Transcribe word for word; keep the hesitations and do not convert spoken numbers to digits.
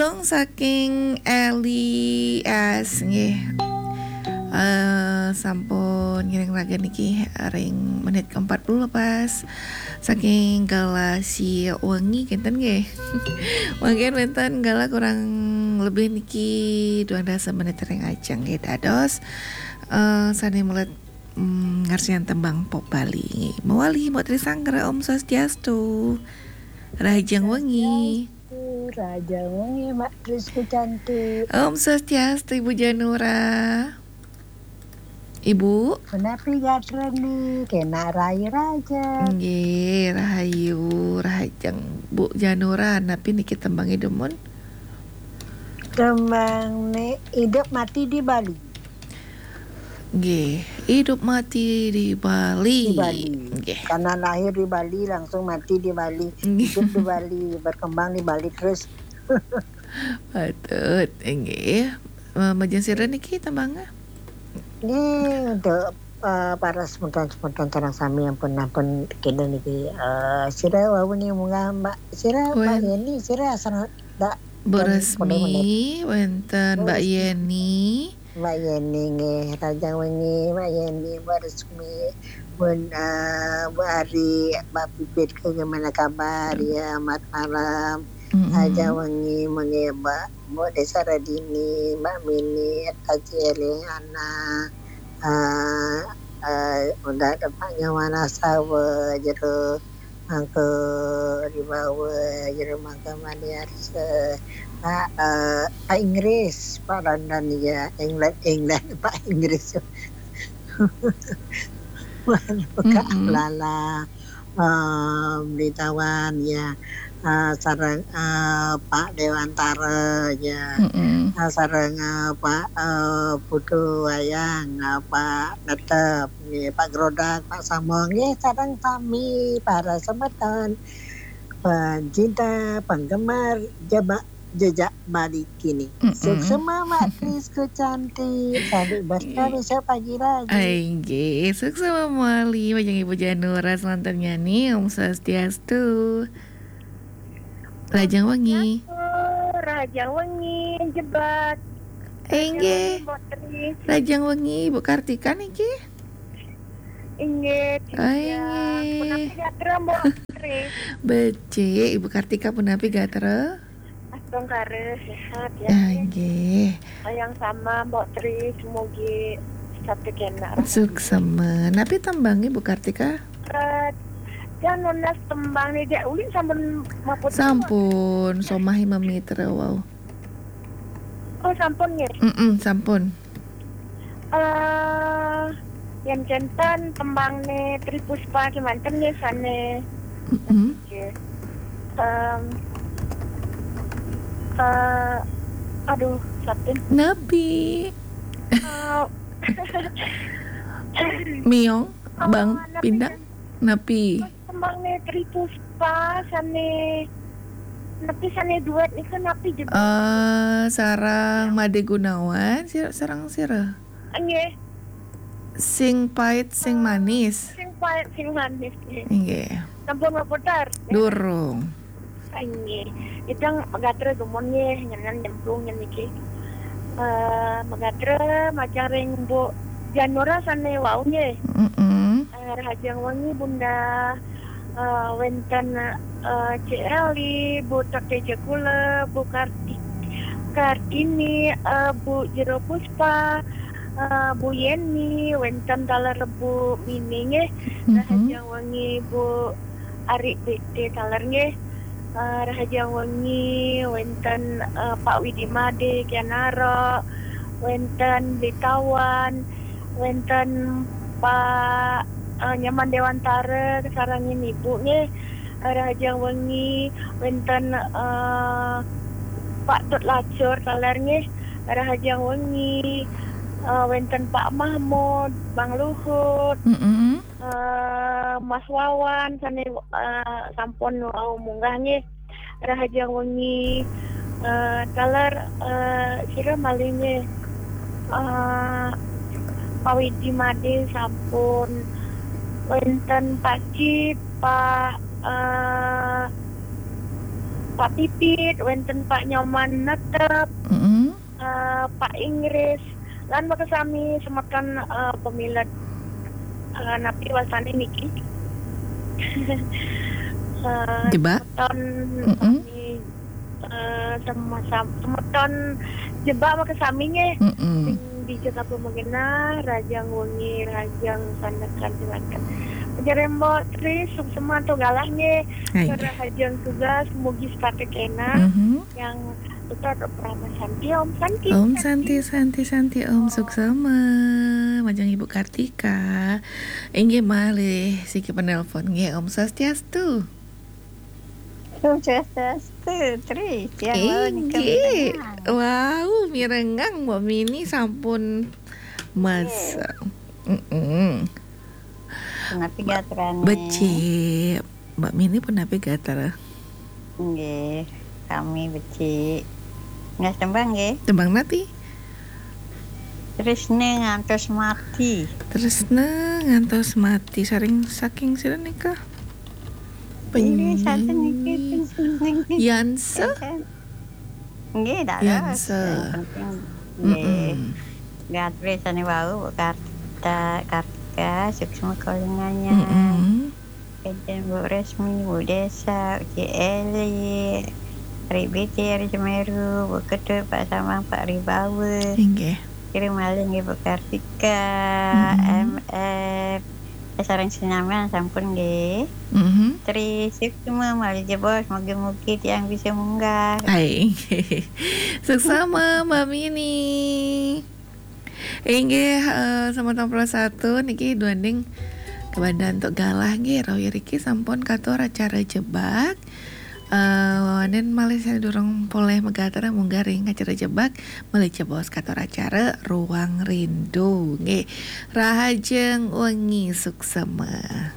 Dong saking Eli S nggih. Eh, sampun ngiring raga niki ring menit keempat puluh pas saking Galasia Wengi kinten nggih. Mungkin wenten galah kurang lebih niki dua dasa menit ring ajeng nggih, dados eh, sane melet mm, ngarsian tembang pop Bali. Mawali Mbok Trisanggra, Om Swastiastu. Rahajeng wengi. Swastiastu, rahajeng wengi, Mbak Tris Kucanti. Om Swastiastu, Ibu Janura. Ibu? Punapi gatra ni, kena rai raja. Nggih, rahayu, rahajeng. Bu Janura, napi niki tembange dumun? Tembang ni Hidup Mati di Bali. Nggih, Hidup Mati di Bali. Di Bali. Nggih. Karena lahir di Bali, langsung mati di Bali. Nggih. Hidup di Bali, berkembang di Bali terus. Patut, nggih. Eh, majeng sira niki tembange? Nggih, untuk eh, para semeton-semeton sareng sami ampun, ampun kene niki, eh, sira wau ni munggah Mbak, sira Mbak Wen- Yeni, sira asal dak Bu Resmi, wenten Mbak Yeni. Mbak Yeni nggih, rahajeng wengi, Mbak Yeni, Mbak Resmi, Bun, eh, Bu Ari, Mbak Pipit, bagaimana kabar? Ya, selamat malam. Mm-mm. Rahajeng wengi, mengke Mbak, Mbok Desa Radini, Mbak Mini, Haji Eli, Ana, eh, eh, udah ada Pak Nyawana Sawa, jero mangke Ribawa, jero mangke Maniarsa, Pak, eh, Pak Inggris, Pak London ya, England, England, Pak Inggris. Kak Mm-mm. Lala, eh, Beli Tawan ya, eh, sareng eh, Pak Dewantara ya, Mm-mm. Eh, sareng eh, Pak eh, Putu Wayang, eh, Pak Netep, nggih, Pak Grodak, Pak Samong, nggih, sareng sami para semeton pencinta, penggemar jebak jejak Bali kini. Mm-mm. Suksema Mak Tris Kucanti, Sandi Basta Nggih. Bisa pagi lagi. Ai, nggih, suksema mawali, majeng Ibu Janura, selanturnya nih, Om Swastiastu. Rahajeng wengi. Rahajeng wengi, jebak. Inggih. Rahajeng wengi, Mbok Tri. Rahajeng wengi, Ibu Kartika niki? Inggih, Ai, Dinda. Inggih. Punapi gatra, Mbok Tri? Becik, Ibu Kartika punapi gatra? Astungkara sehat ya. Ah, nggih. Yang sama, Mbok Tri, semogi satu kena. Suksema. Napi tembang Ibu Kartika? Eh, Jan nunas tembang ni, Dek. Ulin sampun maput. Sampun, somahi mamitra wau. Oh, sampun nggih. Mm-mm, sampun. Eh, yang jantan tembang ni Tri Puspa kemanten nggih sane. Mm-mm. Nggih. Em, eh, aduh, satin. Napi? Eh, Miong, eh, Bang napi Pinda? Jan- Napi? Tembang ni Tri Puspa sane, napi sane duet niku napi jebul? Eh, sareng Made Gunawan, sir-, sareng sira? Nggih. Sing pait, sing manis. Sing pait, sing manis, nggih. Nggih. Sampun maputar? Durung. Nggih. Idang magatra dumun nggih, nyenan nyemplung nyen niki. Eh, magatra majeng ring Mbok Janura sane wau nggih. Mm-mm. Eh, rahajeng wengi, Bunda. Eh, wenten, eh, Cik Eli, Bu Tok Teja Kula, Bu Karti-, Kartini, eh, Bu Jero Puspa, eh, Bu Yeni, wenten taler Bu Mini nggih. Mhm. Rahajeng wengi, Bu Ari B T taler nggih. Eh, rahajeng wengi, wenten, eh, Pak Widi Made, Kianaro, wenten Blitawan, wenten Pak, eh, Nyaman Dewantara, sareng Ibu nggih. Eh, rahajeng wengi, wenten, eh, Pak Tut Lacur taler nggih. Rahajeng wengi, eh, wenten Pak Mahmud, Bang Luhut, Mm-mm. eh, Mas Wawan, sane, eh, sampun wau munggah nggih. Rahajeng wengi, eh, taler, eh, sira malih nggih. Eh, Pak Widi Made sampun, wenten Pak Cip, Pak, eh, Pak Pipit, wénten Pak Nyoman Netep, Mm-mm. eh, Pak Inggris, lan makasami semeton, eh, pemilet, eh, napi wasane niki. Eh, Jebak? Semeton Mm-mm. sami, eh, sama, sam- semeton Jebak makasami nggih. Mm-mm. Sing dija kapumegenah, rahajeng wengi, rahajeng sandekan semanten. Jerembo Tri, suksema antuk galah nggih. Hai. Rahajeng tugas, mugi setata kenah. Mhm. Yang tetap Rama Santi, Om Santi. Om Santi, Santi, Santi, Om suksema. Majeng Ibu Kartika. Inggih malih siki penelpon nggih, Om Swastiastu. Om Swastiastu, Tri. Tiang wau nika Inggih. mirengang. Wau, mirengang Mbok Mini sampun mas. Mm-mm. Punapi gatrane? Becik. Mbok Mini punapi gatra? Nggih, kami becik. Nggih, tembang nggih. Tembang napi? Tresna ngantos mati. Tresna ngantos mati, saring saking sira nika? Nggih, saten Penyanyi niki. Yanse? Nggih, dados. Yanse. Yang penting, nggih. Mm-mm. Gatrane sane wau, Bu Kartika, Kartika, suksma kalinganya. Mm-mm. Kenten Bu Resmi, Bu Desa, Uci Eli, Ri Biti, Ri Semeru, Bu Ketut, Pak Samang, Pak Ribawa. Inggih. Kira malih nggih Bu Kartika, Mm-mm. M F, sareng sinamian sampun nggih. Mhm. Tri suksma malih jebos, mugi-mugi tiang bisa munggah. Hai. Suksma Mbok Mini. Inggih, eh, semeton Pulau Satu niki duaning kebandhan antuk galah nggih, rauh iriki sampun katur acara Jebak. Eh, wonten malih sane durung polih magatra munggah ring acara Jebak, malih jebos katur acara Ruang Rindu nggih. Rahajeng wengi, suksma.